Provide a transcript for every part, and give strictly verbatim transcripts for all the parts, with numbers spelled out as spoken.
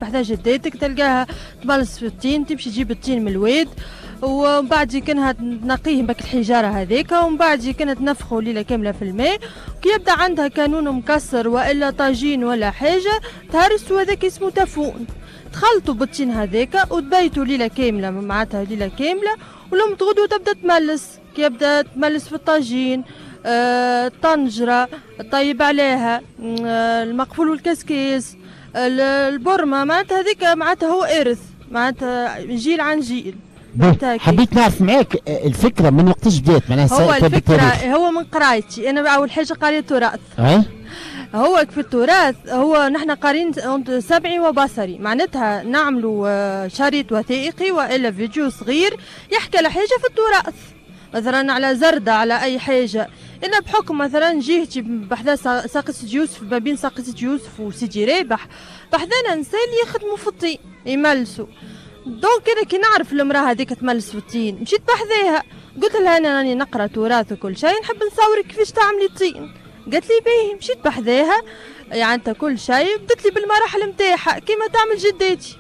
بحذا جداتك تلقاها تملس في الطين، تمشي تجيب الطين من الواد، ومن بعد كانها تنقية بك الحجارة هذيك، ومن بعد كانها تنفخه ليلة كاملة في الماء. كي يبدا عندها كانون مكسر والا طاجين ولا حاجة تهرس، وهذاك اسمه تفون. تخلطوا بالطين هذاك وتبيتوا ليلة كاملة، معناتها ليلة كاملة، ولما تغدوا تبدا تملس. كي يبدا تملس في الطاجين، آه، طنجره طيب عليها، آه، المقفول والكسكيس، البرمة، معناتها هذيك معناتها هو ارث، معناتها جيل عن جيل. حبيت نعرف معاك الفكرة من وقتاش بدات معناها؟ هو الفكرة هو من قرايتي انا، اول حاجة قريت تراث. أه؟ هو في التراث هو نحن قارين سمعي وبصري، معناتها نعملوا شريط وثائقي والا فيديو صغير يحكي على حاجة في التراث، مثلا على زردة، على أي حاجة. إلا بحكم مثلا جهتي بحذا ساقية سيدي يوسف، ما بين ساقية سيدي يوسف وسيدي رابح، بحذانا نساء اللي يخدموا في الطين يملسوا. donc انا كي نعرف المراة هذيك تملس في الطين مشيت بحذاها قلت لها انا راني نقرا تراث وكل شيء، نحب نصورك كيفاش تعملي الطين. قالت لي باهي. مشيت بحذاها يعني انت كل شيء، بدت لي بالمراحل نتاعها كيما تعمل جداتي.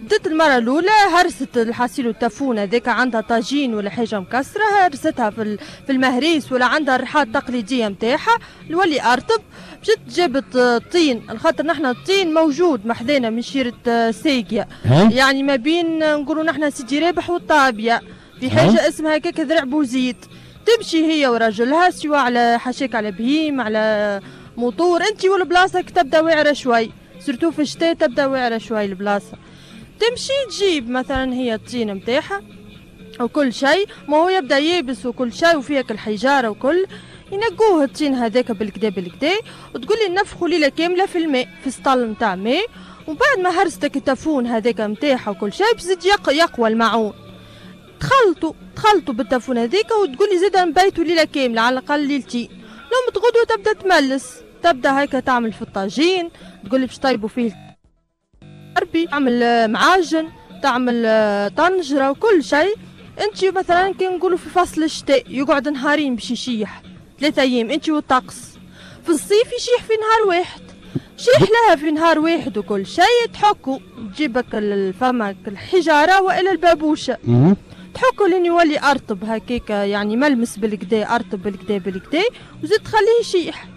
بدت المرة الأولى هرست الحاسيل التفون هذاك، عندها طاجين ولا حاجة مكسرة هرستها في في المهريس، ولا عندها الرحاة التقليدية نتاعها الولي أرطب. مشت جابت طين، الخاطر نحن الطين موجود محذانا من شيرة ساقية، يعني ما بين نقولوا نحن سيدي رابح والطابية، في حاجة اسمها هكاك ذرع بوزيد. تمشي هي وراجلها سواء على حشاك على بهيم على موتور، انت والبلاصة تبدا واعرة شوي، surtout في الشتاء تبدا واعرة شوي البلاصة. تمشي تجيب مثلا هي الطين نتاعها وكل شيء، ما هو يبدا يابس وكل شيء وفيها الحجارة وكل، ينقوه الطين هذاك بالكدا بالكدا، وتقول لي نفخوا ليلة كاملة في الماء في سطل نتاع ماء. ومن بعد ما هرستك التفون هذاك نتاعها وكل شيء بزيد يقوى المعون، تخلطوا تخلطوا بالتفون هذيك، وتقول لي زيد نبيتوا ليلة كاملة على الاقل ليلتين. لما تغدوا تبدا تملس، تبدا هكا تعمل في الطاجين، تقول لي باش طيبوا فيه ربي، تعمل معاجن، تعمل طنجره وكل شيء. انت مثلا كي نقولوا في فصل الشتاء يقعد نهارين باش يشيح، ثلاثة ايام انت والطقس. في الصيف يشيح في نهار واحد، شيح لها في نهار واحد وكل شيء. تحكوا تجيبك الفمك الحجارة والا البابوشه، تحكوا لين يولي ارطب هكاك، يعني ملمس بالكدا، ارطب بالكدا بالكدا، وزيد تخليه يشيح.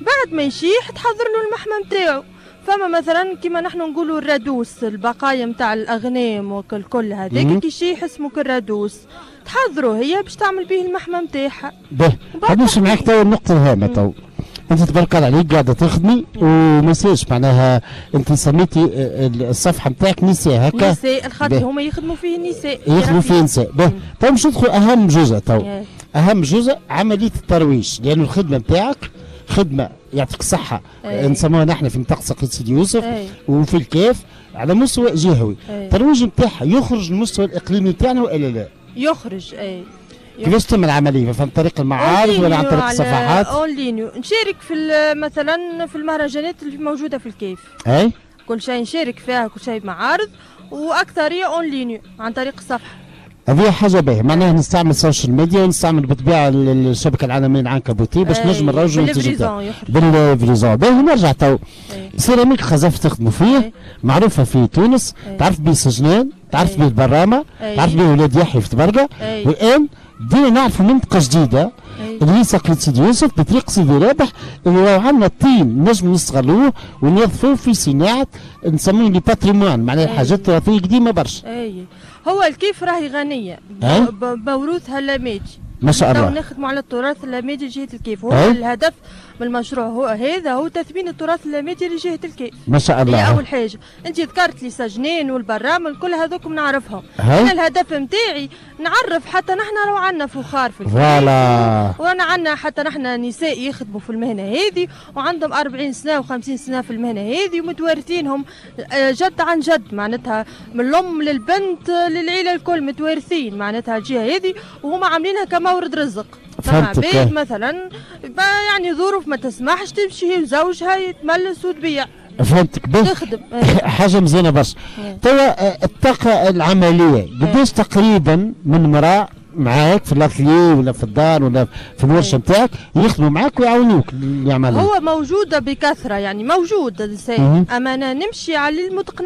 بعد ما يشيح تحضر له المحمى نتاعو. فما مثلا كيما نحن نقولوا الرادوس، البقايا نتاع الاغنام وكل كل هذاك كي يشيح اسمه كالرادوس، تحضروا هي باش تعمل به المحمى نتاعها. باهي، نمشي معاك تو النقطة الهامة تو. انت تبارك الله عليك قاعدة تخدمي وما يصيرش معناها، انت سميتي الصفحة نتاعك نساء هكا؟ نساء، الخاطر هما يخدموا فيه النساء. يخدموا فيه النساء. باهي، تو باش ندخل اهم جزء تو. اهم جزء عملية الترويج، لأن الخدمة نتاعك خدمة يعطيك الصحة نسموها نحن في منطقة ساقية سيدي يوسف أي. وفي الكاف على مستوى جهوي. الترويج نتاعها يخرج المستوى الإقليمي نتاعنا وإلا لا؟ يخرج أي. كيفاش تتم العملية؟ عن طريق المعارض ولا عن طريق الصفحات؟ en ligne، نشارك في مثلا في المهرجانات اللي موجودة في الكاف. أي؟ كل شيء نشارك فيها، كل شيء معارض، وأكثرية en ligne عن طريق الصفحة. هذه حاجة باهية، معناها نستعمل ال social media ونستعمل بالطبيعة الشبكة العالمية العنكبوتية باش نجم نروجوا المنتج بال livraison. باهي، نرجع تو سيراميك خزف تخدموا فيه، معروفة في تونس، تعرف بيه سجنان، تعرف بيه البرامة، تعرف بيه ولاد يحيى في تبرقة، والآن بدينا نعرفوا منطقة جديدة اللي هي ساقية سيدي يوسف بطريق سيدي رابح، اللي راهو عندنا الطين نجم نستغلوه ونوظفوه في صناعة نسميه le patrimoine، معناها الحاجات التراثية قديمة برشا. اي هو الكيف راهي غنية بموروثها اللامادي. ما شاء الله. نخدموا على التراث اللامادي لجهة الكيف، هو الهدف من المشروع هو هذا، هو تثمين التراث اللامادي لجهة الكيف. ما شاء الله. هي أول حاجة، أنت ذكرت لي سجنين والبرامل كل هذوك نعرفهم. أنا الهدف نتاعي نعرف حتى نحن لو عندنا فخار في الكيف. voilà. وأنا عندنا حتى نحن نساء يخدموا في المهنة هذه وعندهم أربعين سنة وخمسين سنة في المهنة هذه ومتوارثينهم جد عن جد، معناتها من الأم للبنت للعيلة الكل متوارثين معناتها الجهة هذه، وهما عاملينها كمورد رزق. فهمتك. مثلا يعني ظروف ما تسمحش تمشي هي وزوجها يتملس وتبيع. فهمتك. تخدم حاجة مزيانه برشا. توا الطاقة العملية قداش تقريبا من امراة معاك في الاتليه ولا في الدار ولا في الورشة نتاعك يخدموا معاك ويعاونوك اللي يعملوا؟ هو موجودة بكثرة، يعني موجود النساء، اما انا نمشي على المتقنه.